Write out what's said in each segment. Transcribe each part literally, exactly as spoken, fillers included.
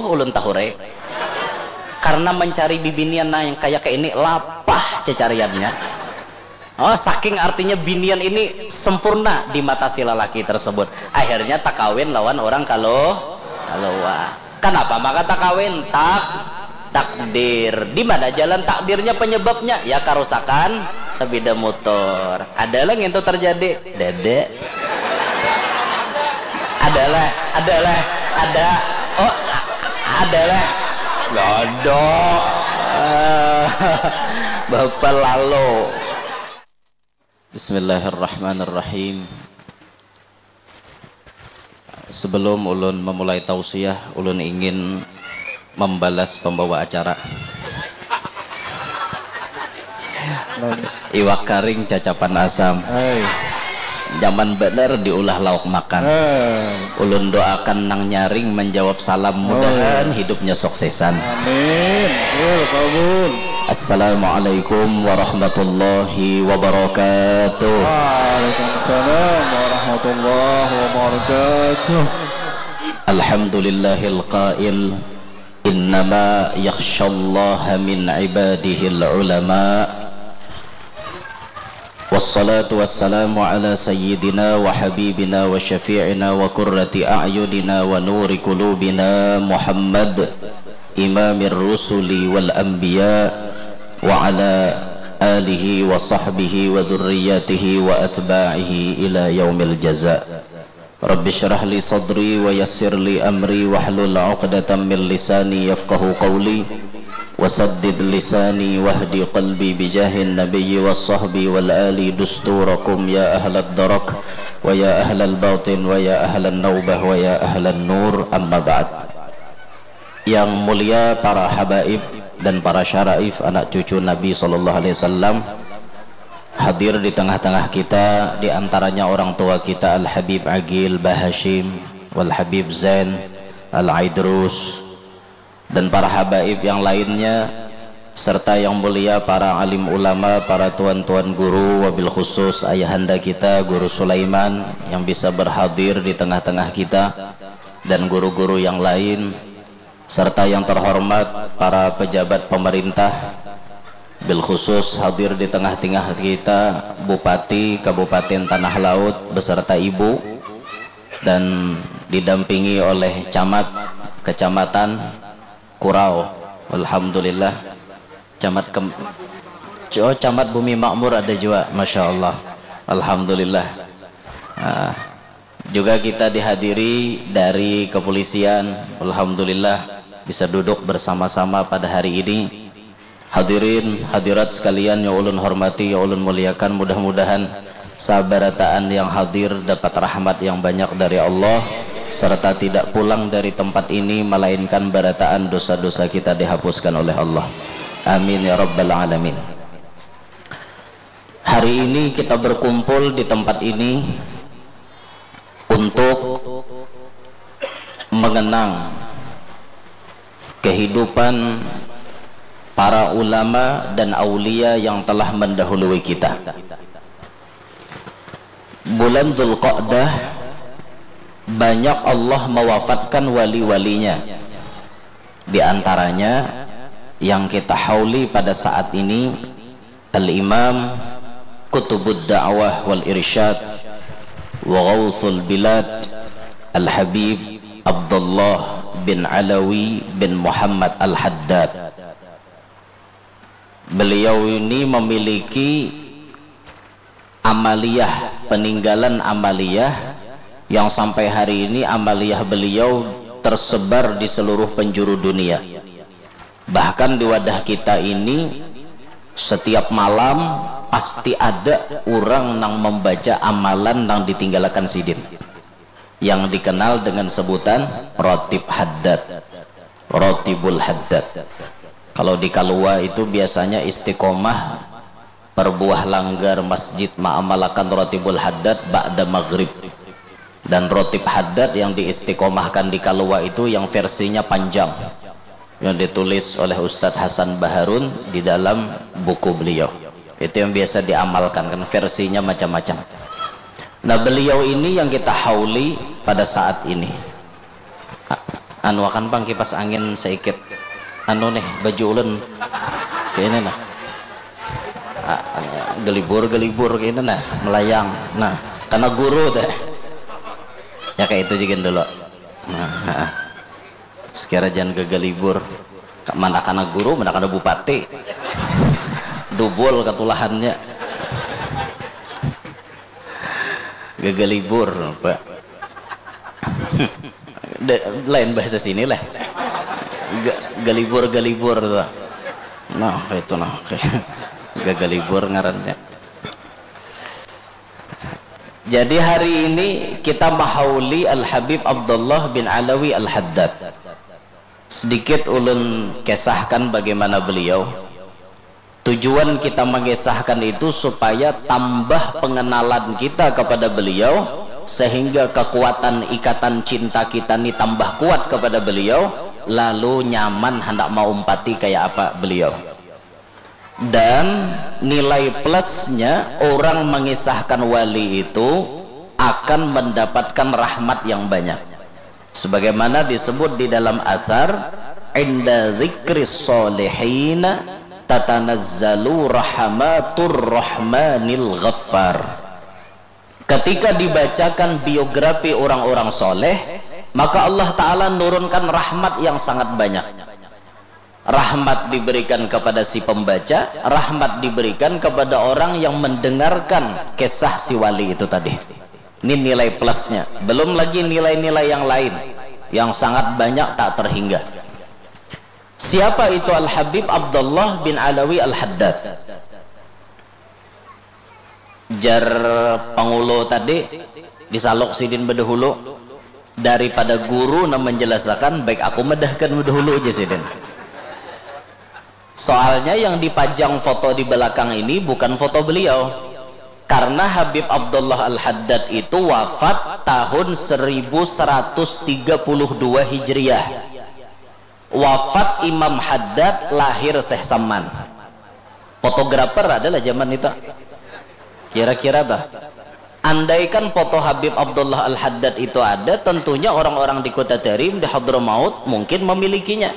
ulun tahurai. Karena mencari bibinian nang yang kaya kaini lapah cacariannya. Oh, saking artinya binian ini sempurna di mata si lalaki tersebut. Akhirnya takawin lawan orang kalo kalowa. Kanapa maka takawin? Tak takdir. Di mana jalan takdirnya, penyebabnya? Ya karusakan sepeda motor. Ada lah ngintu terjadi. Dede. Ada lah, ada lah, ada. Oh, ada lah. Lodo. Bapak lalu. Bismillahirrahmanirrahim. Sebelum ulun memulai tausiah, ulun ingin membalas pembawa acara. Iwak karing cacapan asam. Hai. Nyaman bener diulah lauk makan. Hai. Ulun doakan nang nyaring menjawab salam, mudahan hidupnya suksesan. Amin. Yo, kabul. Assalamualaikum warahmatullahi wabarakatuh. Waalaikumsalam warahmatullahi wabarakatuh. Alhamdulillahil qail, innama yakhshallaha min ibadihil ulama. Wassalatu wassalamu ala sayyidina wa habibina wa syafi'ina wa qurrati a'yunina wa nuri qulubina Muhammad imamir rusuli wal anbiya wa ala alihi wa sahbihi wa dzurriyyatihi wa atba'ihi ila yaumil jaza. Rabbi syrah li sadri wa yassir li amri wahlul uqdatam min lisani yafqahu qawli. Wasaddid lisani wahdi qalbi bijahin nabiyyi was sahbi wal ali dusturakum ya ahlad darak wa ya ahlal batin wa ya ahlan naubah wa ya ahlan nur, amma ba'd. Yang mulia para habaib dan para syaraif anak cucu Nabi sallallahu alaihi wasallam, hadir di tengah-tengah kita, di antaranya orang tua kita Al Habib Agil Bahashim, Wal Habib Zain, Al Aidrus, dan para habaib yang lainnya, serta yang mulia para alim ulama, para tuan-tuan guru, wabil khusus ayahanda kita Guru Sulaiman yang bisa berhadir di tengah-tengah kita, dan guru-guru yang lain, serta yang terhormat para pejabat pemerintah, bil khusus hadir di tengah-tengah kita Bupati Kabupaten Tanah Laut beserta Ibu, dan didampingi oleh Camat Kecamatan Kurau. Alhamdulillah. Camat Kem-, oh, Camat Bumi Makmur ada juga, Masya Allah. Alhamdulillah. Ah, juga kita dihadiri dari kepolisian. Alhamdulillah, bisa duduk bersama-sama pada hari ini. Hadirin, hadirat sekalian yang ulun hormati, yang ulun muliakan, mudah-mudahan sabarataan yang hadir dapat rahmat yang banyak dari Allah, serta tidak pulang dari tempat ini melainkan barataan dosa-dosa kita dihapuskan oleh Allah. Amin ya rabbal alamin. Hari ini kita berkumpul di tempat ini untuk mengenang kehidupan para ulama dan aulia yang telah mendahului kita. Bulan Dzulqa'dah banyak Allah mewafatkan wali-walinya. Di antaranya yang kita hauli pada saat ini, Al-Imam Qutubud Da'wah wal Irsyad wa Ghauthul Bilad, Al-Habib Abdullah bin Alawi bin Muhammad Al-Haddad. Beliau ini memiliki amaliyah, peninggalan amaliyah yang sampai hari ini amaliyah beliau tersebar di seluruh penjuru dunia. Bahkan di wadah kita ini, setiap malam pasti ada orang nang membaca amalan nang ditinggalakan sidin, yang dikenal dengan sebutan Ratib Haddad, Ratibul Haddad. Kalau di Kalua itu biasanya istiqomah perbuah langgar masjid maamalakan Ratibul Haddad ba'da maghrib. Dan Ratib Haddad yang diistiqomahkan di Kalua itu yang versinya panjang, yang ditulis oleh Ustadz Hasan Baharun di dalam buku beliau. Itu yang biasa diamalkan, kan versinya macam-macam. Nah, beliau ini yang kita hauli pada saat ini. A-, Anu akan pang kipas angin saikit. Anu nih, baju ulun. Kayak ini nah. Ah, gelibur-gelibur kayak ini nah, melayang. Nah, karena guru teh. Ya kayak itu juga dulu. Nah, sekira jangan gagalibur. Mana kana guru, mana kana bupati. Dubul katulahannya. Gagalibur, Pak. Lain bahasa sini lah. Galibur-galibur tuh. Nah, itu nah. Gagalibur ngarannya. Jadi hari ini kita mahauli Al-Habib Abdullah bin Alawi Al-Haddad. Sedikit ulun kesahkan bagaimana beliau. Tujuan kita mengisahkan itu supaya tambah pengenalan kita kepada beliau, sehingga kekuatan ikatan cinta kita ni tambah kuat kepada beliau, lalu nyaman hendak maumpati kayak apa beliau. Dan nilai plusnya, orang mengisahkan wali itu akan mendapatkan rahmat yang banyak. Sebagaimana disebut di dalam asar, "Inda dzikri sholihin tatanazzalu rahmatur rahmanil ghaffar." Ketika dibacakan biografi orang-orang soleh, maka Allah Ta'ala nurunkan rahmat yang sangat banyak. Rahmat diberikan kepada si pembaca, rahmat diberikan kepada orang yang mendengarkan kisah si wali itu tadi. Ini nilai plusnya. Belum lagi nilai-nilai yang lain yang sangat banyak tak terhingga. Siapa itu Al-Habib Abdullah bin Alawi Al-Haddad? Jar pangulu tadi, disaluk sidin bedahulu, daripada guru nang menjelasakan, baik aku medahkan bedahulu aja sidin. Soalnya yang dipajang foto di belakang ini bukan foto beliau. Karena Habib Abdullah Al-Haddad itu wafat tahun seribu seratus tiga puluh dua Hijriah. Wafat Imam Haddad, lahir Syekh Saman. Fotografer adalah zaman itu. Kira-kira tuh. Andaikan foto Habib Abdullah Al-Haddad itu ada, tentunya orang-orang di Kota Tarim, di Hadramaut mungkin memilikinya.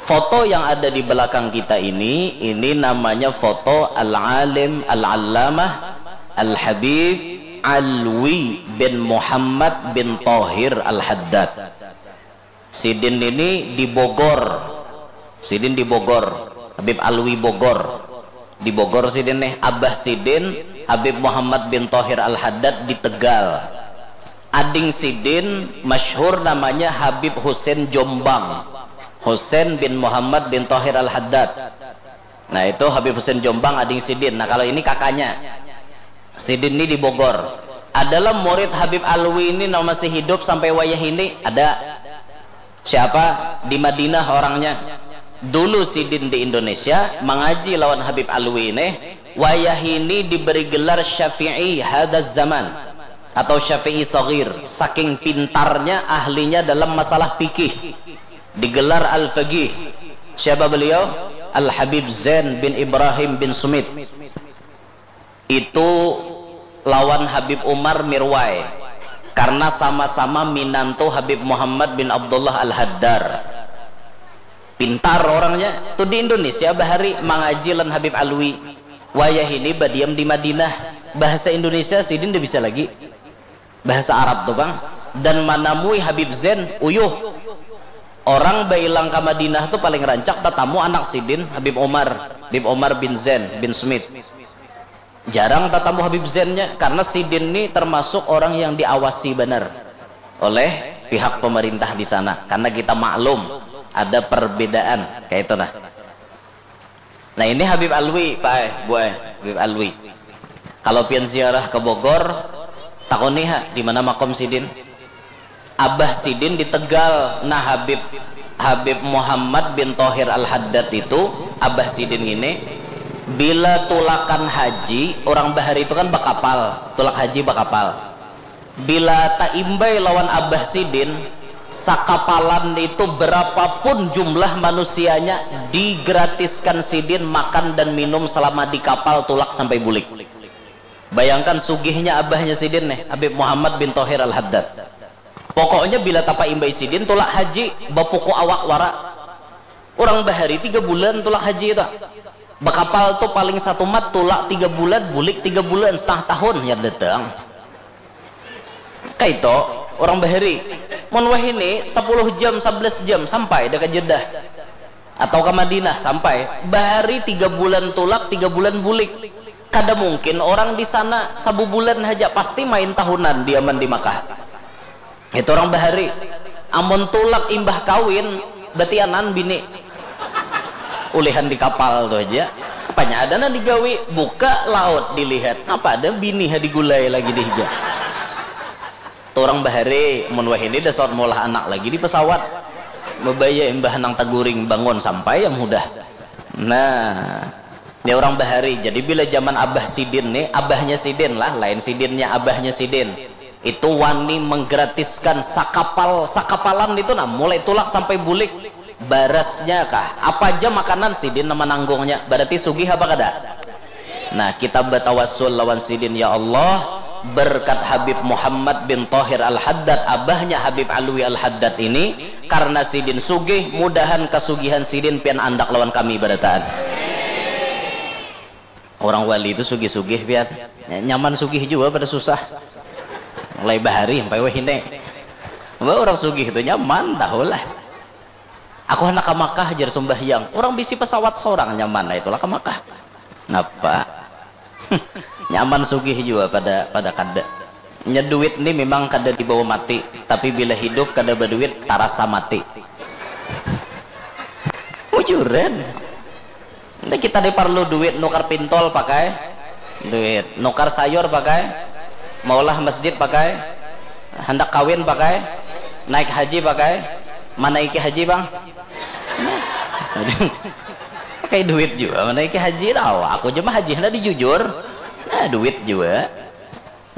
Foto yang ada di belakang kita ini, ini namanya foto Al-Alim Al-Allamah Al-Habib Alwi bin Muhammad bin Tohir Al-Haddad. Sidin ini di Bogor. Sidin di Bogor. Habib Alwi Bogor. Di Bogor sidin nih. Abah sidin Habib Muhammad bin Tohir Al-Haddad di Tegal. Ading sidin masyhur namanya Habib Husin Jombang. Husin bin Muhammad bin Tohir Al-Haddad. Nah, itu Habib Husin Jombang, ading sidin. Nah, kalau ini kakaknya. Sidin ini di Bogor. Adalah murid Habib Alwi ini nang masih hidup sampai wayah ini? Ada. Siapa? Di Madinah orangnya. Dulu sidin di Indonesia, mangaji lawan Habib Alwi ini. Wayah ini diberi gelar Syafi'i hadaz zaman atau Syafi'i Saghir. Saking pintarnya, ahlinya dalam masalah fikih. Digelar Al-Faqih. Siapa beliau? Al-Habib Zain bin Ibrahim bin Sumit. Itu lawan Habib Umar Mirwai. Karena sama-sama minantu Habib Muhammad bin Abdullah Al-Haddar. Pintar orangnya. Tuh di Indonesia bahari mangaji lan Habib Alwi. Wayah ini badiam di Madinah. Bahasa Indonesia sidin nda bisa lagi. Bahasa Arab tu pang. Dan manamui Habib Zain, uyuh. Orang bailang ka Madinah tu paling rancak tatamu anak sidin, Habib Umar, Habib Umar bin Zain bin Smith. Jarang tatamu Habib Zainnya, karena sidin ni termasuk orang yang diawasi banar oleh pihak pemerintah di sana, karena kita maklum ada perbedaan kayak itu nah. Nah, ini Habib Alwi, Pak eh, Bu eh, Habib Alwi. Kalau pian ziarah ke Bogor, takuni ha, di mana makom sidin? Abah sidin di Tegal. Nah, Habib Habib Muhammad bin Tohir Al Haddad itu, abah sidin ini, bila tulakan haji, orang bahari itu kan bakapal, tulak haji bakapal. Bila taimbai lawan abah sidin, sakapalan itu berapapun jumlah manusianya, digratiskan sidin makan dan minum selama di kapal tulak sampai bulik. Bayangkan sugihnya abahnya sidin nih, Habib Muhammad bin Tohir Al Haddad. Pokoknya bila tapa imbai sidin tulak haji, bapuku awak wara. Orang bahari tiga bulan tulak haji itu. Bakapal tu paling satu mat tulak tiga bulan, bulik tiga bulan, setengah tahun ya datang. Kaito orang bahari. Mun wahini sepuluh jam, sebelas jam sampai dah ke Jeddah atau ke Madinah sampai. Bahari tiga bulan tulak, tiga bulan bulik. Kada mungkin orang di sana sabubulan haja, pasti main tahunan diaman di Makkah. Itu orang bahari. Amun tulak imbah kawin, batianan bini. Ulihan di kapal tu haja. Apanya ada nang digawi, buka laut dilihat. Apa ada bini ha digulai lagi di hija. Tu orang bahari, mun wahini dasar maulah anak lagi di pesawat. Mabaya imbah nang taguring bangun sampai yang hudah. Nah, ini orang bahari. Jadi bila zaman abah sidin nih, abahnya sidin lah, lain sidinnya, abahnya sidin. Itu wani menggratiskan sakapal, sakapalan itu nah, mulai tulak sampai bulik. Barasnya kah, apa aja makanan sidin nama nanggungnya. Berarti sugih apa kada? Nah, kita batawasul lawan sidin, ya Allah, berkat Habib Muhammad bin Tahir Al-Haddad, abahnya Habib Alwi Al-Haddad ini, karena sidin sugih, mudahan kasugihan sidin pian andak lawan kami barataan. Orang wali itu sugih-sugih pian. Nyaman sugih jua pada susah. Mulai bahari sampai wahini. Wah, orang sugih itu nyaman tahulah. Aku handak ka Makkah, jar sumbahyang. Orang bisi pesawat sorang, nyaman lah itulah ka Makkah. Napa? Nyaman sugih jua pada pada kada. Nya duit ni memang kada dibawa mati, tapi bila hidup kada baduit tarasa mati. Bujuran. Ini kita ni parlu duit nukar pintol pakai duit, nukar sayur pakai, maulah masjid pakai, handak kawin pakai, naik haji pakai, manaiki haji bang. Pakai duit jua manaiki haji lah. Aku jua mah haji handak dijujur. Nah, duit jua.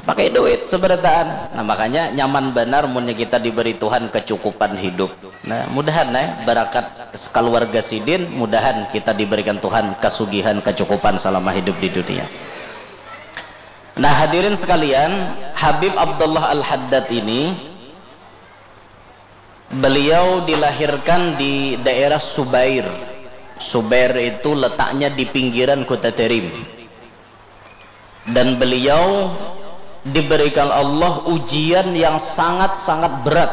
Pakai duit seberataan. Nah, makanya nyaman banar munnya kita diberi Tuhan kecukupan hidup. Nah, mudahan eh barakat keluarga sidin, mudahan kita diberikan Tuhan kasugihan kecukupan selama hidup di dunia. Nah, hadirin sekalian, Habib Abdullah Al-Haddad ini beliau dilahirkan di daerah Subair. Subair itu letaknya di pinggiran kota Terim. Dan beliau diberikan Allah ujian yang sangat-sangat berat.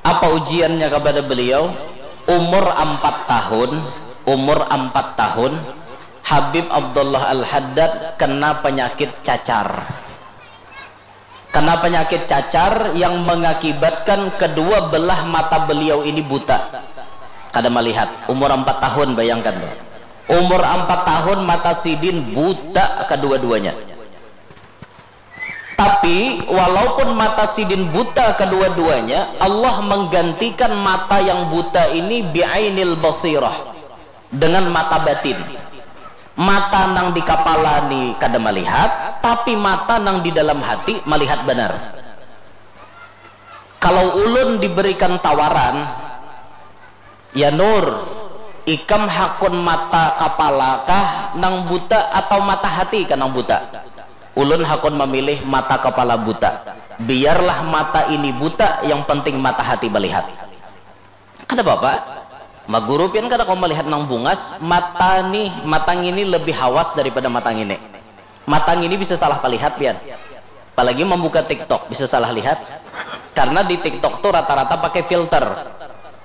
Apa ujiannya kepada beliau? Umur empat tahun, umur empat tahun, Habib Abdullah Al-Haddad kena penyakit cacar. Kena penyakit cacar yang mengakibatkan kedua belah mata beliau ini buta. Kada melihat. Umur empat tahun, bayangkan tuh. Umur empat tahun, mata sidin buta kedua-duanya. Tapi walaupun mata sidin buta kedua-duanya, Allah menggantikan mata yang buta ini bi'ainil basirah, dengan mata batin. Mata nang di kapala ni kada melihat, tapi mata nang di dalam hati melihat banar. Kalau ulun diberikan tawaran, ya Nur, ikam hakun mata kapala kah nang buta atau mata hati kah nang buta? Ulun hakun memilih mata kapala buta. Biarlah mata ini buta, yang penting mata hati melihat. Kada apa-apa. Maguru pian kada kawa malihat nang bungas, mata nih, mata ngini lebih hawas daripada mata ngini. Mata ngini bisa salah palihat pian. Apalagi mambuka TikTok, bisa salah lihat. Karena di TikTok tuh rata-rata pakai filter.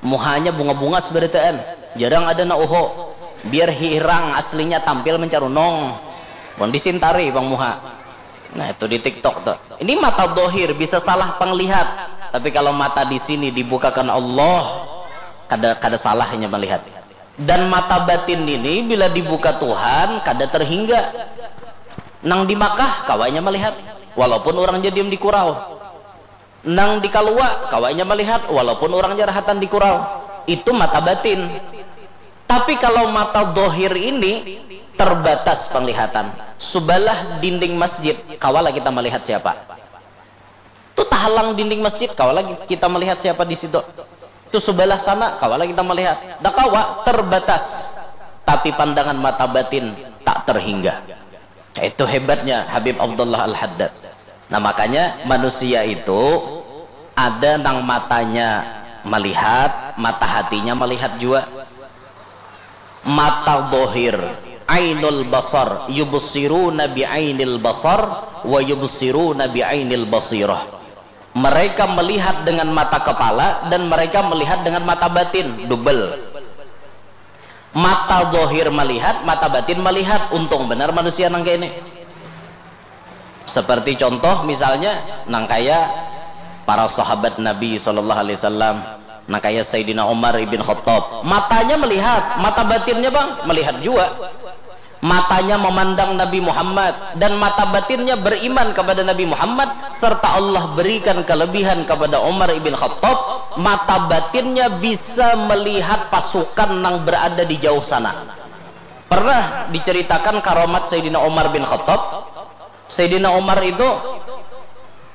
Muhanya bunga-bungas barataan. Jarang ada na uho. Biar hirang aslinya tampil mencarunong. Pun disintari bang muha. Nah, itu di TikTok tuh. Ini mata dohir bisa salah penglihat, tapi kalau mata di sini dibukakan Allah, kada kada salahnya melihat. Dan mata batin ini bila dibuka Tuhan kada terhingga. Nang di Makkah kawanya melihat, walaupun orang jadiam di kurau. Nang di kalua kawanya melihat, walaupun orang jarahatan di kurau. Itu mata batin. Tapi kalau mata dohir ini terbatas penglihatan. Subalah dinding masjid, kawalah kita melihat siapa. Tu tahalang dinding masjid, kawalah kita melihat siapa di situ. Tu subalah sana, kawalah kita melihat. Dah kawa, terbatas. Tapi pandangan mata batin tak terhingga. Itu hebatnya Habib Abdullah Al-Haddad. Nah, makanya manusia itu Ada nang matanya melihat, mata hatinya melihat jua. Mata dohir, ainul basar, yubsiruna bi ainil basar, wa yubsiruna bi ainil basirah. Mereka melihat dengan mata kepala dan mereka melihat dengan mata batin, double. Mata dohir melihat, mata batin melihat. Untung benar manusia nang kayak ini. Seperti contoh misalnya nang kaya para sahabat Nabi sallallahu alaihi wasallam, nang kaya Sayyidina Umar ibn Khattab, matanya melihat, mata batinnya bang melihat jua. Matanya memandang Nabi Muhammad dan mata batinnya beriman kepada Nabi Muhammad, serta Allah berikan kelebihan kepada Umar ibn Khattab, mata batinnya bisa melihat pasukan yang berada di jauh sana. Pernah diceritakan karamat Sayyidina Umar bin Khattab. Sayyidina Umar itu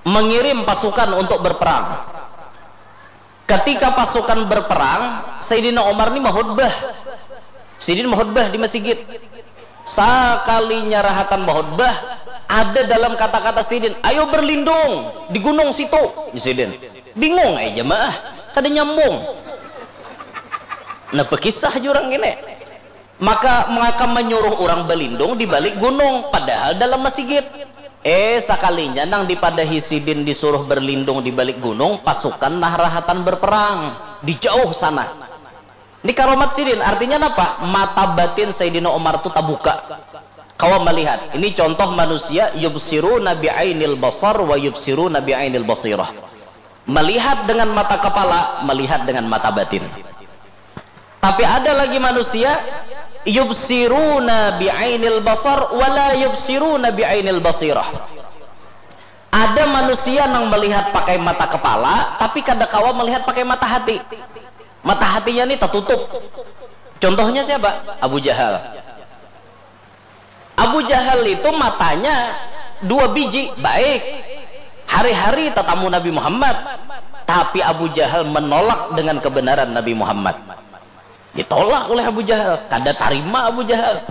mengirim pasukan untuk berperang. Ketika pasukan berperang, Sayyidina Umar ni mahutbah. Sidin mahutbah di masjid. Sakalinya rahatan mahutbah, ada dalam kata-kata sidin, "Ayo berlindung di gunung situ." Sidin bingung aja jemaah, kada nyambung. Nah, bekisah jurang ini. Maka maka menyuruh orang berlindung di balik gunung, padahal dalam masigit. Eh, sakalinya nang dipadahi sidin disuruh berlindung di balik gunung, pasukan nah rahatan berperang di jauh sana. Ini karomat sidin, artinya napa? Mata batin Sayyidina Umar tu tabuka. Kawa melihat. Ini contoh manusia yubsiru nabi ainil basar wa yubsiru nabi ainil basirah. Melihat dengan mata kepala, melihat dengan mata batin. Tapi ada lagi manusia yubsiruna bi ainil basar wala yubsiruna bi ainil basirah. Ada manusia yang melihat pakai mata kepala tapi kada kawa melihat pakai mata hati. Mata hatinya nih tertutup. Contohnya siapa? Abu Jahal. Abu Jahal itu matanya dua biji, baik. Hari-hari tatamu Nabi Muhammad, tapi Abu Jahal menolak dengan kebenaran Nabi Muhammad. Ditolak oleh Abu Jahal, kada tarima Abu Jahal.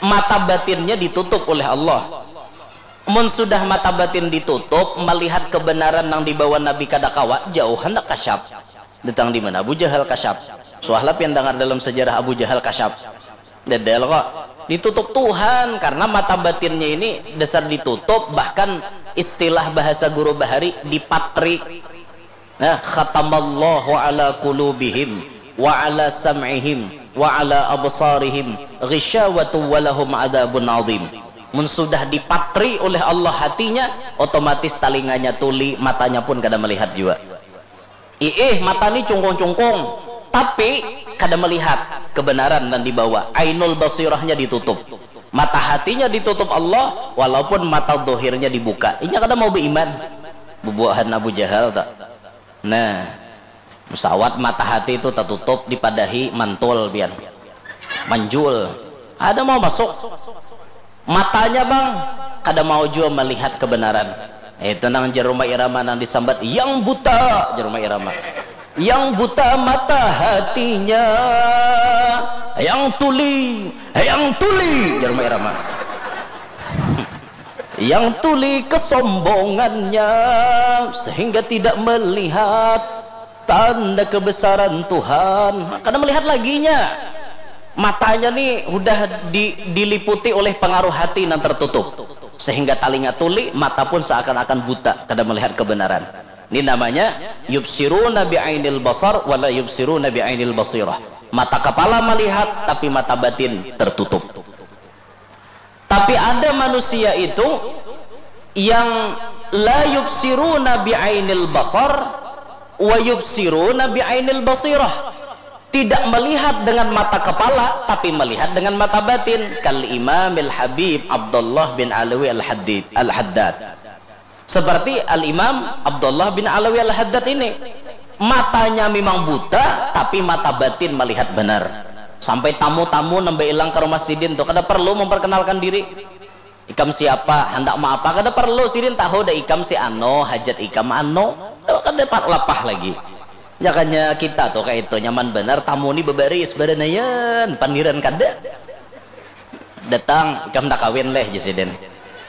Mata batinnya ditutup oleh Allah. Mun sudah mata batin ditutup, melihat kebenaran yang dibawa Nabi kada kawa, jauh hendak kasyap. Datang di mana Abu Jahal kasyap? Suahlah pian dengar dalam sejarah Abu Jahal kasyap. Dedel kok. Ditutup Tuhan karena mata batinnya ini dasar ditutup, bahkan istilah bahasa guru bahari dipatri. Nah, khatamallahu ala qulubihim wa ala sam'ihim wa ala absarihim ghishawatu wa lahum adzabun adzim. Mun sudah dipatri oleh Allah hatinya, otomatis talinganya tuli, matanya pun kada melihat jua. Iih, mata ni cungkung-cungkung, tapi kada melihat kebenaran dan dibawa. Ainul basirahnya ditutup. Mata hatinya ditutup Allah, walaupun mata dohirnya dibuka. Inya kada mau beriman. Bubuahan Abu Jahal tak. Nah, pesawat mata hati itu tertutup, dipadahi mantul biar manjul. Ada mau masuk. Matanya bang kada mau jua melihat kebenaran. Itu nang jar Rhoma Irama nang disambat yang buta, jar Rhoma Irama. Yang buta mata hatinya, yang tuli, yang tuli, jar Rhoma Irama. Yang tuli kesombongannya sehingga tidak melihat tanda kebesaran Tuhan. Kada melihat laginya. Matanya ni hudah di, diliputi oleh pengaruh hati yang tertutup. Sehingga talinga tuli, mata pun seakan-akan buta, kada melihat kebenaran. Ini namanya yubsiruna bi ainil basar wala yubsiruna bi ainil basirah. Mata kepala melihat, tapi mata batin tertutup. Tapi ada manusia itu yang la yubsiruna bi ainil basar wa yubsiruna bi ainil basirah. Tidak melihat dengan mata kepala, tapi melihat dengan mata batin. Kal Imamil Habib Abdullah bin Alawi Al-Haddid, Al-Haddad. Seperti Al-Imam Abdullah bin Alawi Al-Haddad ini. Matanya memang buta, tapi mata batin melihat benar. Sampai tamu-tamu nambah ilang ke rumah sidin tuh, kada perlu memperkenalkan diri. Ikam siapa? Handak mau apa? Kada perlu, sidin tahu dah ikam si ano, hajat ikam ano. Tuh, kada lapah lagi. Jakanya kita tuh kayak itu nyaman benar, tamu ni bebaris, beranayan, pandiran kada. Datang, ikam tak kawin leh, jar sidin.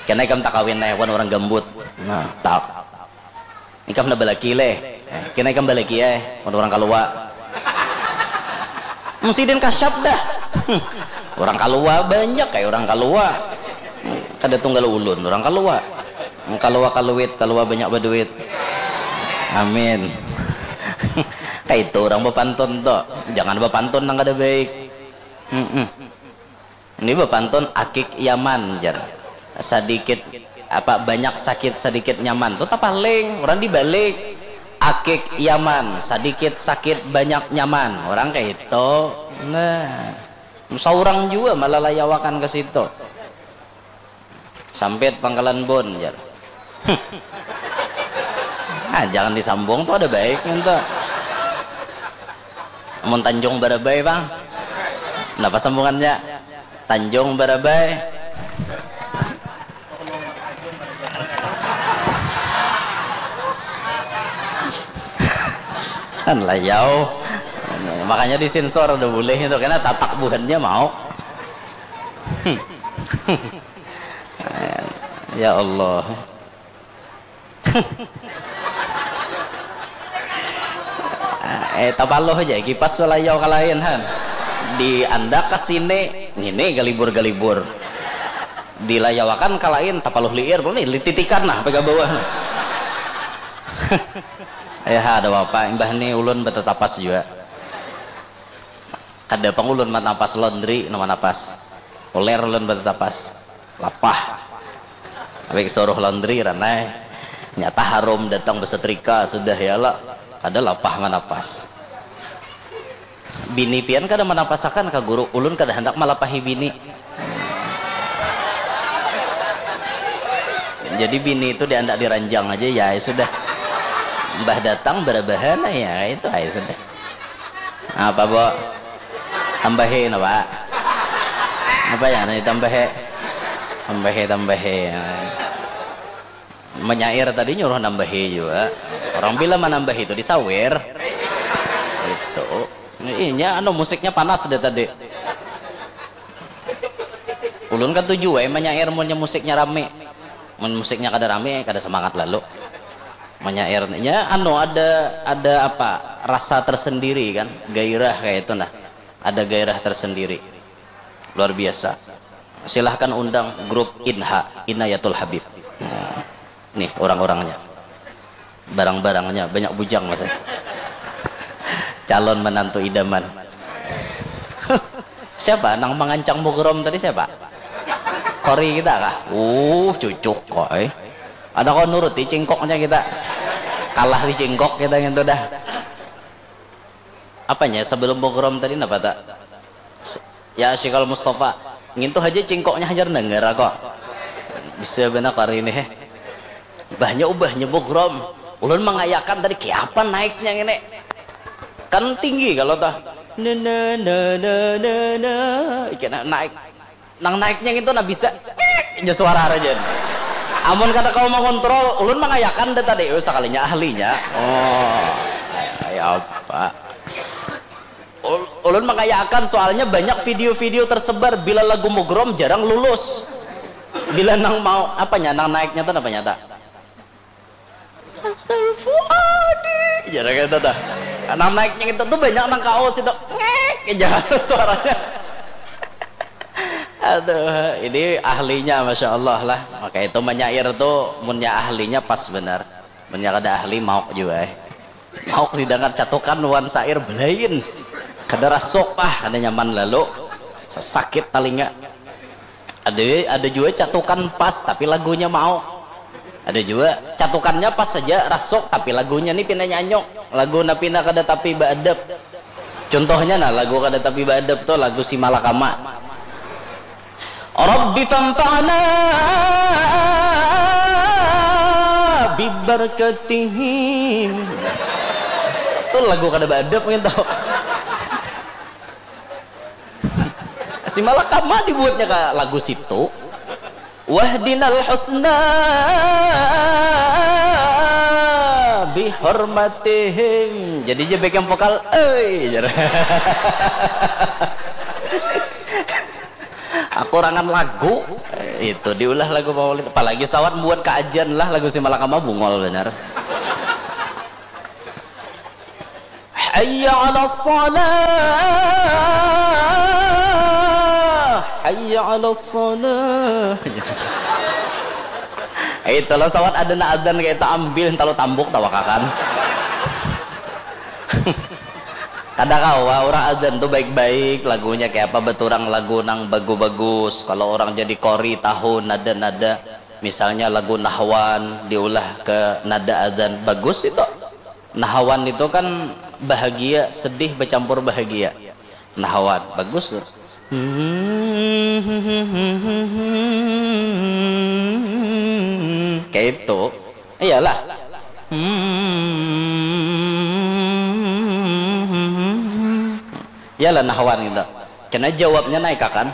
Kena ikam tak kawin leh, wan orang gambut. Nah, tak. Ikam handak balaki leh. Eh, kena ikam balaki ai, mun urang kaluwa. Mun sidin kasyap dah. Hmm. Urang kaluwa banyak ai urang kaluwa. Kada tunggal ulun urang kaluwa. Kaluwa kaluit, kaluwa banyak baduit. Amin. Kaitu urang bapantun tu. Jangan bapantun nang kada baik. Mm-mm. Ini bapantun akik Yaman jar. Sadikit apa banyak sakit sadikit nyaman tu tapaling, urang dibalik. Akik Yaman, sadikit sakit banyak nyaman. Urang kaitu. Nah, saurang jua malalayawakan ka situ. Sampit Pangkalan Bun jar. Ah, jangan disambung tu ada baik ngintu. Mun Tanjung Barabai pang. Napa sambungannya? Tanjung Barabai. Kan layau. Makanya disensor udah boleh itu karena tatak buhannya mau. Ya Allah. Eh, tapaluh aja kipas layau ka lain han. Di anda ka sini, ngini galibur-galibur. Dilayawakan ka lain, tapaluh liir, nih lititikan nah pega bawah. Ya ada apa, imbah ni ulun batatapas jua. Kada pang ulun manapas laundry, nang manapas. Uler ulun batatapas. Lapah. Tapi suruh laundry ranai. Nyata harum datang besetrika sudah ya lah. Kada lapah manapas. Bini pian kada manapasakan ka guru, ulun kada handak malapahi bini. Jadi bini itu diandak diranjang aja ya, ya sudah. Mbah datang berabahan ya itu aja sudah. Apa bo? Tambahi napa? Apa ya nanti tambahi? Tambahi tambahi. Menyair tadi nyuruh nambahi juga. Orang bila menambahi itu disawer. Itu. Inya anu musiknya panas deh tadi. Ulun katuju wae menyair munnya musiknya rame. Mun musiknya kada rame kada semangat lalu. Menyairnya anu ada ada apa rasa tersendiri kan, gairah kayak itu nah, ada gairah tersendiri luar biasa. Silahkan undang grup Inha, Inayatul Habib. Nah, nih orang-orangnya, barang-barangnya banyak bujang mas. Calon menantu idaman. Siapa nang mengancang mugrom tadi siapa? Kori kita kah? Uh cucuk kok eh. Ada kau nuruti cingkoknya kita. Kalah di cingkok kita gitu dah. Apanya sebelum program tadi napa tak? Ya Syikal Mustafa, ngintu aja cingkoknya hajar dengar kok. Bisa benar kali ini. Bahnya ubahnya program. Ulun mengayakan tadi kiapa naiknya ini. Kan tinggi kalau tah. Nana nana nana. Iki naik. Nang naiknya itu nah bisa aja suara rajan. Amun kada kau mengontrol, ulun mangayakan deh tadi. Oh, sekalinya ahlinya. Oh, ya apa? Ul- ulun mangayakan soalnya banyak video-video tersebar bila lagu mugrom jarang lulus. Bila nang mau apanya nang naiknya tuh apa nyata? Fuadi. Jadi kayak itu dah. Nang naiknya itu tuh banyak nang kaos itu. Ngek aja suaranya. Aduh, ini ahlinya masya Allah lah. Maka itu menyair tuh munnya ahlinya pas benar. Munnya kada ahli mauk juga eh. Mauk didengar catukan wan sair belain. Kada rasuk ah, kada nyaman lalu. Sakit talinga. Ada ada juga catukan pas tapi lagunya mau. Ada juga catukannya pas saja rasuk tapi lagunya ni pina nyanyuk. Lagu na pina kada tapi baadab. Contohnya nah lagu kada tapi baadab tu lagu si Malakama. Rabbi fanfa'na bibarakatihim. Tu lagu kada baadab gitu. Si Malakama dibuatnya ka lagu situ. Wahdinal husna bihormatihim. Jadi je backing vokal, eh. Aku rangan lagu itu diulah lagu maulid. Apalagi sawat buat kaajan lah lagu si Malakama bungol benar. Hayya 'alas shalah. Hayya 'alas shalah. Itulah sawat ada na adzan kayak itu, ambil talu tambuk tawakakan. Kada kawa orang adzan tuh baik-baik lagunya kayak apa, beturang lagu nang bagus-bagus. Kalau orang jadi kori tahu nada-nada, misalnya lagu Nahwan diulah ke nada adzan, bagus itu. Nahawan itu kan bahagia, sedih bercampur bahagia. Nahawan, bagus tuh. Kayak itu. Iyalah. Iyalah nahawan gitu. Kena jawabnya naik akan.